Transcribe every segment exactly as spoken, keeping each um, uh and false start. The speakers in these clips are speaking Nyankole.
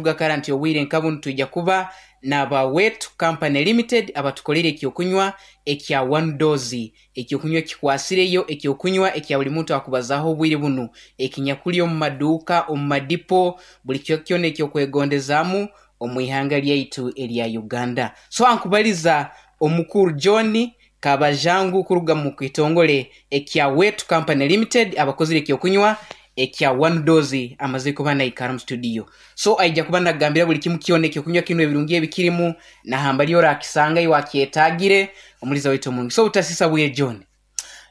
Kara nti obwire nka bunu twija kuba n'aba Wetu Company Limited abatukolere ekyokunywa ekya One Dose, ekyokunywa ekikwasireyo, ekyokunywa ekya buli muntu akubazaaho obwire bunu, ekinyakuli omu maduuka, omu madipo, buli kicweka kyona ekyokwegondezaamu omu ihanga lyaitu erya Uganda. So ankubaliza omukuru John Kabajangu kuruga mu kitongole ekya Wetu Company Limited abakozire ekyokunywa ekya One Dose amazire kuba naikara mu studio. So aija kuba nagambira buli kimu kyona ekyokunywa kinu ebirungi ebikirimu nahambali orakisanga iwe akyetagire omuliza waitu omurungi. So obutasisa bwire John.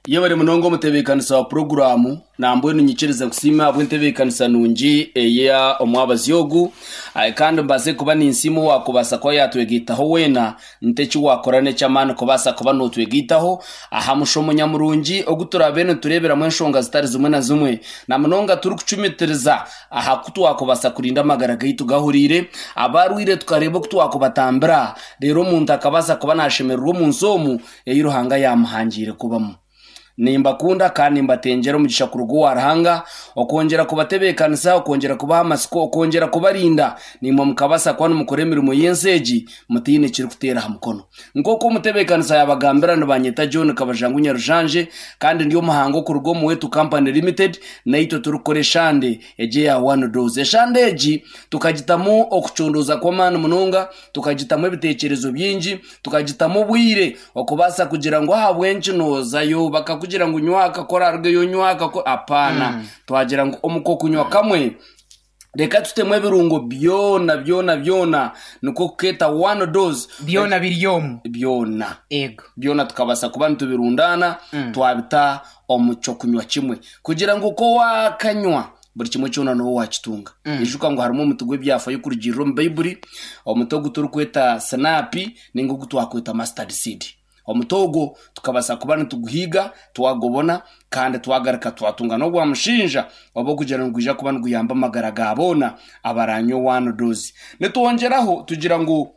Yebare munonga omutebeekanisa wa puroguraamu nambwenu nyikirize nkusiime ahabw'entebeekanisa nungi eya omwabazi ogu Aye, kandi mbaase kuba ninsiima owakubaasa kuba yatwegaitaho weena nti eki wakora n'eky'amaani kubaasa kuba nootwegaitaho aha mushomo nyamurungi ogu turaabe nitureeberamu enshonga zitari zimwe na zimwe na munonga turikucumitiriza aha ku twakubaasa kurinda amagara gaitu gahuriire abarwaire tukareeba oku twakubatambira reero omuntu akabaasa kuba naashemererwa omu nsi omu ei Ruhanga yaamuhangiire kubamu. Nimbakunda kandi nimbatengyera omugisha kuruga owa Ruhanga okwongyera kubatebeekanisa, okwongyera kubaha amatsiko, okwongyera kubarinda naimwe mukabaasa kuba nimukora emirimo y'ensi egi mutaine ekirikuteera aha mukono. Nk'oku omutebeekanisa yaabagambira nibanyeta John Kabajangu Nyarujanje kandi ndi omuhango okuruga omu Wetu Company Limited naitwe turikukora eshande egi eya One Dose. Eshande egi tukagitamu okucondooza kw'amaani munonga, tukagitamu ebiteekyerezo bingi, tukagitamu obwire okubaasa kugira ngu ahabw'enki noozayo bakakugira ngu nywa akakora arugeyo nywa akakora apaana Mm. twagira ngu omu kokunywa kamwe reka tutemu ebirungo byona byona byona nikwo kukeeta One Dose. Byona biri omu. Byona Ego. byona tukabaasa kuba nitubirundaana Mm. twabita omu kyokunywa kimwe kugira ngu ko waakanywa buri kimwe kyona niwe wakitunga. Mm. Ijuka ngu harimu omuti gw'ebyafayo kurugirira omu Baibuli, omuti ogu turikweta sinapi ninga ogu twakweta mustard seed. Omuti ogwo tukabaasa kuba nituguhiiga twagubona kandi twagaruka twatunga n'ogwa mushinja oba okugira ngu gwija kuba niguyamba amagara ga boona abaranywa One Dose. Nitwongyeraho tugira ngu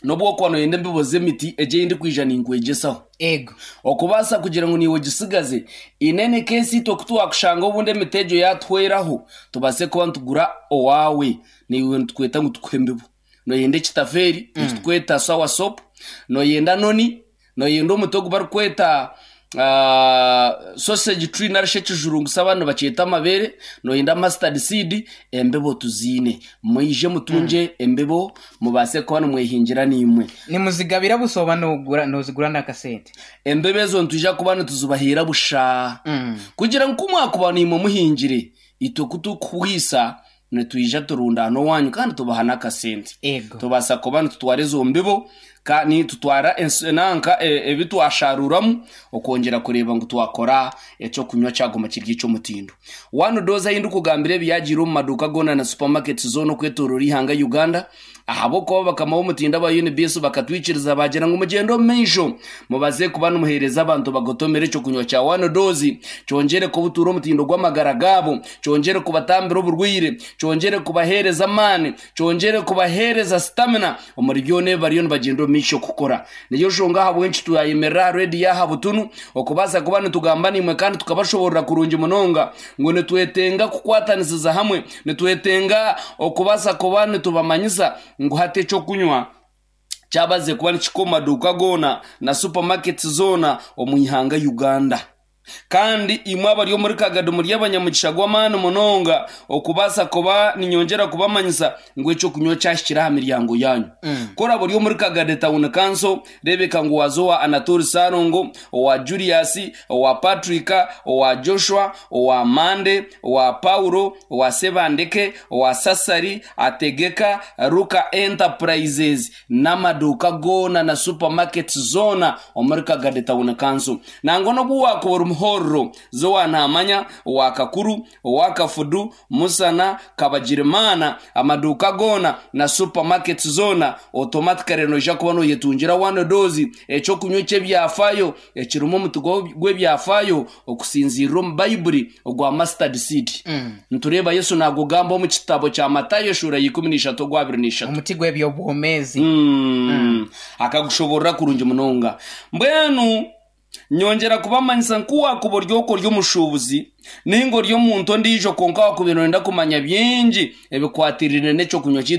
n'obu okuba noyenda embibo z'emiti egi ei ndikwija ninkwegyesaho Ego. okubaasa kugira ngu niiwe ogisigaze inene keesi itwe ku twakushanga obundi emiti egyo yatuhweraho tubaase kuba nitugura owaawe niiwe nitukweta ngu tukuhe embibo. Noyenda ekitafeeri Mm. ekitukweta sour sop, noyenda noni, noyenda omuti ogu barikweta uh, sausage tree narishi ekijurungusa abandi nibakyeta amabeere, noyenda mustard seed, embibo tuziine. Mwije Mm. mutungye embibo mubaase kuba nimwehingira naimwe. Nimuzigabira busa oba nogura nozigura n'akasente? Embibo ezo nitwija kuba nituzibaheera busha Mm. kugira ngu kumwakuba naimwe muhingire itwe kutukuhwisa nitwija turundaana owanyu kandi tubaha n'akasente. Ego. Tubaasa kuba nitutwara ezo mbibo kandi tutwara ens- nanka e- ebi twasharuramu okwongyera kureeba ngu twakora ekyokunywa kyaguma kiri eky'omutindo. One Dose ahi ndikugambira ebi yagiire omu maduuka goona na supermarkets zoona okwetoorora ihanga Uganda ahabw'okuba bakama b'omutindo aba U N B S bakatwikiriza bagira ngu mugyende omu maisho mubaze kuba nimuheereza abantu bagotomere ekyokunywa kya One Dose kyongyere kubutuura omutindo gw'amagara gaabo, kyongyere kubatambira oburwaire, kyongyere kubaheereza amaani, kyongyere kubaheereza stamina omuri byona ebi bariyo nibagyenda omu maisho kukora. Niyo nshonga ahabw'enki twayemerera aha rediyo aha butunu okubaasa kuba nitugamba naimwe kandi tukabashoborora kurungi munonga ngu nitwetenga kukwatanisiza hamwe, nitwetenga okubaasa kuba nitubamanyisa ngu hati ekyokunywa kyabaze kuba nikihika omu maduuka goona na supermarkets zoona omu ihanga Uganda. Kandi imwe abari omuri Kagadi muri abanyamugisha gw'amaani munonga okubaasa kuba ninyongyera kubamanyisa ngu ekyokunywa kyahikire aha miryango yanyu. Mm. Ku oraba ori omuri Kagadi Town Council, reebeka ngu waaza owa Anatoli Sarongo, owa Julius, owa Patrick, owa Joshua, owa Mande, owa Paulo, owa Sebandeke, owa Sasari, Ategeka, Ruka Enterprises n'amaduuka goona na supermarkets zoona omuri Kagadi Town Council. Nangwa n'obu waakuba ori muhororo zowa Namanya, owa Kakuru, owa Kafudu, Musana, Kabagirimana, amaduuka goona na supermarkets zoona automatically noija kuba noyetungira One Dose, ekyokunywa eky'ebyafayo ekirimu omuti gwo- gw'ebyafayo okusinziirira omu Baibuli ogwa mustard seed. Mm. Nitureeba Yesu naagugamba omu kitabo kya Matayo eshuura ya ikumi n'ishatu ogwa abiri n'ishatu. Omuti gw'ebyobwomeezi. Mm. Mm. Akagushoborora kurungi munonga. Mbwenu Nyongera kubamanyisa nkuwakuba ori okwo ori omushuubuzi ninga ori omuntu ondiijo, kwonka wakubaire noyenda kumanya bingi ebikwatirire n'ekyokunywa kyaitu.